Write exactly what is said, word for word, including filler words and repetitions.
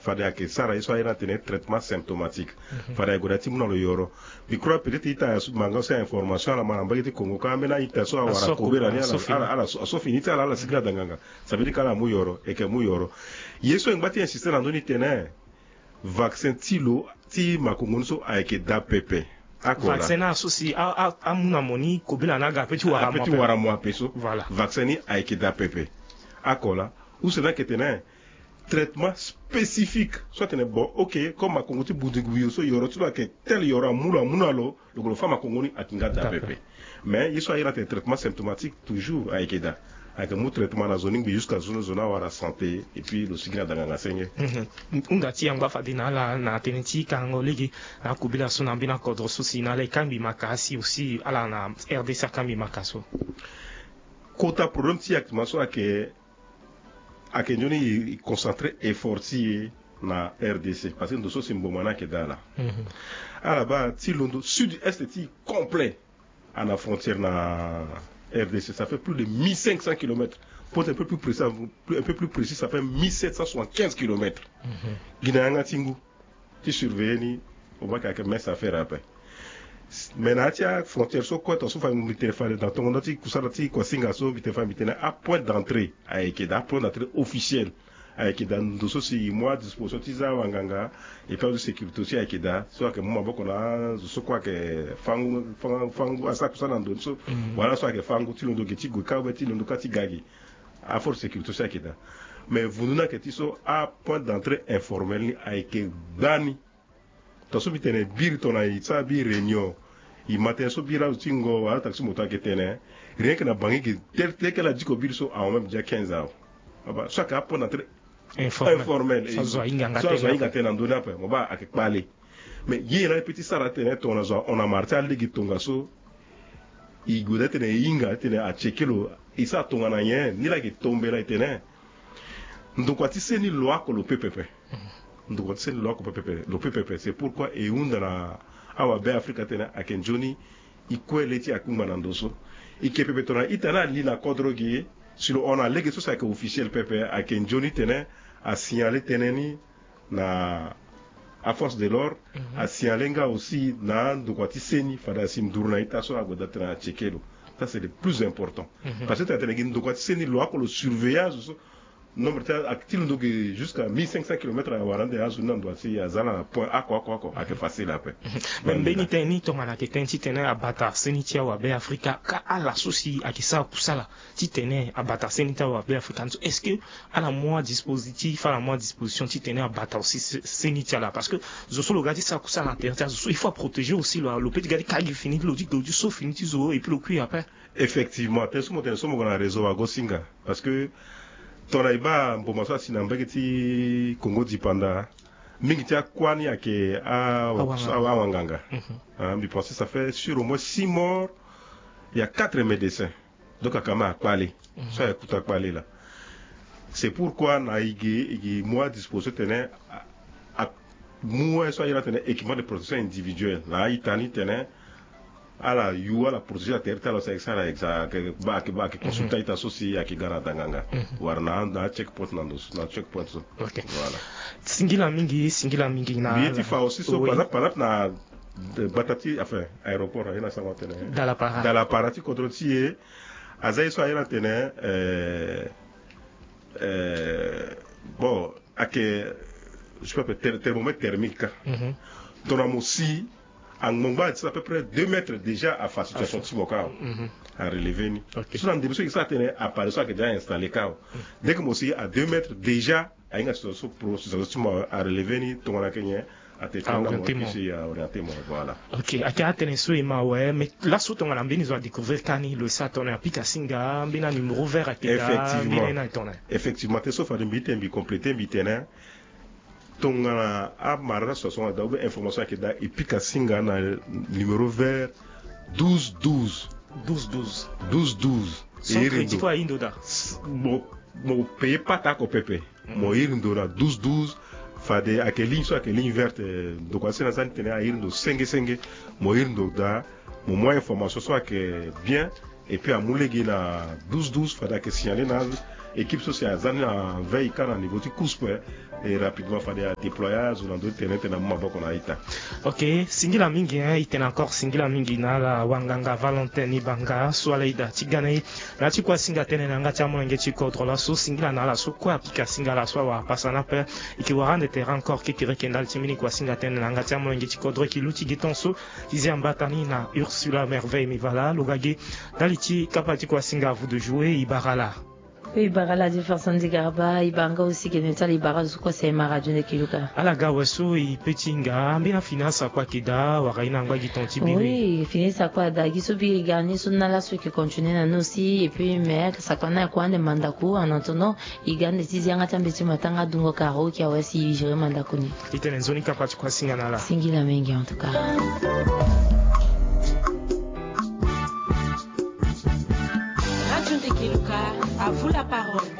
Fade ayeke sara ye so ayeke na tene traitement symptomatique. Fade aye gue daa ti mu na lo yoro. Mbi crois peut-être ita so manga so ya information ala ma na mbage ti Congo ka ambeni a-ita so awara kobela ni, ala so fini ti ala ala sigi na danganga. Ça veut dire ka ala mu yoro eke mu yoro. Ye so e ngba ti insiste na ndö ni tene vaccin ti lo ti makongo ni so ayeke daa pepe. Ako la. Vaccin ni ala so si amu na mo ni kobela ni aga ape ti wara mo ape so. Vaccin ni ayeke daa pepe. Ako la. Use ni ayeke tene traitement spécifique so atene bon, ok, comme makongo ti bundingu yo so yoro ti lo ayeke tel yoro amu lo amu na lo. Lo gue lo fa makongo ni ayeke nga daa pepe. Mais ye so aye na tene traitement symptomatique toujours ayeke daa. Ayeke mu traitement na zo ni ngbi jusqu'à zo ni zo ni awara santé et puis lo sigi na danganga senge. Hunda ti yangba fade na ala na tënë ti kangango lege na akobela so na mbeni akodro so si na ala e kangbi maka asi aussi ala na R D C akangbi maka so. Kota problème ti actuellement so ayeke ayeke nzoni e concentré effort ti e na R D C parce que ndo so si mboma ni ayeke daa ala. Ala baa ti londo sud est ti e complet. Ana frontière na R D C ça fait plus de mille cinq cents kilomètres. Pour être un peu plus précis, un peu plus précis, ça fait mille sept cent soixante-quinze kilomètres. Gi na yanga ti ngu ti surveiller ni. Obaka ayeke mince affaire ape. Mais na ya ti afrontière so kue tonga so fa mbi tene fade na tongo ndö ti kusala ti kuasinga so mbi tene fa mbi tene apoint d'entrée ayeke daa, apoint d'entrée officiel ayeke daa. Ndo so si e mu adisposition ti za awanganga et puis azo sécurité aussi ayeke daa so ayeke mu maboko na azo so kue ayeke fangu fangu asara kusala na ndo ni so. Wala so ayeke fangu ti londo ge ti gue kâ ou bien ti londo kâ ti ga ge. Aforce sécurité so ayeke daa. Mais vundu ni ayeke ti so apoint d'entrée informel ni ayeke gbani. Tonga so mbi tene biri tongana e sara biri réunion, e ma tënë so biri azo ti ngo wala taxi moto ayeke tene, rien que na bangi ge tel tel que ala diko biri so ahon même déjà quinze awe. Aba so ayeke apoint d'entrée informel. Informel. So azo ahinga nga tënë na ndö ni ape mo baa ayeke kpale. Mais ye laa e peut ti sara atene tongana zo ahon na mara ti alege tongaso. E gue daa titene e hinga titene acheke lo. E sara tongana nyen ni laa e yeke tombela e tene ndokua ti seni lo oko lo peut pepe. Ndokua ti seni lo oko pepe lo peut pepe. C'est pourquoi e hunda na awabe afrika titene ayeke nzoni e kue le ti akungba na ndo so. E yeke pepe tongana ita ni ali na kodro ge si lo hon na lege so si ayeke officiel pepe ayeke nzoni titene asignale tënë ni na aforce de l'ordre. Asignale nga aussi na andokua ti seni fade asi nduru na ita so ague daa titene acheke lo. Ça c'est le plus important. Parce que tena tene gi ndokua ti seni lo oko lo surveiller azo so nombre ti a- ti londo ge jusqu'à mille cinq cents kilomètres awara ande azo ni na ndo asi aza na point oko oko oko ayeke facile ape. Mais mbeni tënë ni tongana ayeke tënë titene abata seni ti awabe afrika ka ala so si ayeke sara kusala titene abata seni ti awabe afrika ni so est-ce que ala mu adispositif ala mu adisposition titene abata aussi se- seni ti ala parce que zo so lo ga ti sara kusala na tere ti azo so il faut aprotéger aussi lo lo peut ti ga ti ka gi fini ti lo ti lo ti so fini ti zo et puis lo kui ape. Effectivement tënë so mo tene so mo gue na réseau wagosinga. Parce que tongana e baa mboma so asi na mbage ti Congo dipanda mingi ti akuâ ni ayeke awanganga. Mbi pense ça fait sur au moins six morts. Il y a quatre médecins. Donc akama akpale so ayeke kuta kpale laa. C'est pourquoi na e ge e ge mu adisposition tene a- a- mu wai so ayeke na tene équipement de protection individuelle na a-ita ni tene ala yu ala protéger atere ti ala so ayeke sara exa ayeke ba ayeke ba ayeke consulter a-ita so si ayeke ga na danganga. Wala na na check point na ndo so na check point so. Ok. Voilà. Singila mingi singila mingi na mbi ye ti fa aussi so par exemple par exemple na gbata ti enfin aéroport aye na sango atene dalapara dalapara ti kodro ti e. Aza ye so aye na tene euh, euh, bon ayeke je peux appeler thermomètre thermique ka. Tongana mo si angbongba ti à peu près deux mètres déjà afa situation ti mo ka. Arelever ni so na ndembe so e sara tene appareil so ayeke déjà installer ka. Dès que mo si à deux mètres déjà ahinga situation so pro situation so ti mo arelever ni tongana ayeke nyen. Atene tene na mo kisi aorienter mo. Voilà. Ok. Ayeke atene so e ma awe mais laso tongana mbeni zo adécouvrir ka ni lo e sara tongana apika singa mbeni anuméro vert ayeke daa mbeni aye ni ayeke tongana. Effectivement tënë so fade mbi tene mbi compléter mbi tene tongana amara so aso nga daa ou bien information ayeke daa e pika singa na numéro vert douze douze. Douze douze. Douze douze. E iri ndo. Mo payer pata oko pepe. Mo iri ndo na douze douze. Fade ayeke ligne so ayeke ligne verte. Ndokua ti seni aza ni tene a iri ndo senge senge. Mo iri ndo daa mo mu a-information so ayeke bien. Et puis amu lege na douze douze fade ayeke signaler na équipe so si aza ni na veille ka na niveau ti couspe. Et rapidement fade adéploya azo na ndo ti tene tene amu maboko na ita. Ok, singila mingi hein, itene encore singila mingi na ala wanganga Valentin Ibanga so ala ida ti gana ye na ti kua singa tene na yanga ti amolenge ti kodro laso singila na ala so kue apika singa laso awara pasa na pe. Eke wara ande terrain encore kekere ke ndali ti mbeni kua singa tene na yanga ti amolenge ti kodro eke luti gi ton so ti zia mbata ni na Ursula Merveille Mivala lo ga gi ndali ti kapa ti kua singa vous de jouer ibara la. Oui, ibara la di Vincent Digarba, ibara nga aussi ke ne ti ala ibara zo kue sema radio nde ke luka. Ala ga awe so i pe ti hinga mbeni afini asakua ke daa wala i na ngba gi ton ti biri. Oui, fini asakua daa gi so biri ga ni so na laso eke continuer na ni aussi et puis mais asakua ni akua ande mandaku en attendant i ga ande ti zia nga ti ambeti matanga dungo karo ki awe si i gérer mandaku ni. I tene nzoni kapa ti kua singa na ala. Singila mingi en tout cas. Radio nde ke luka, à vous la parole.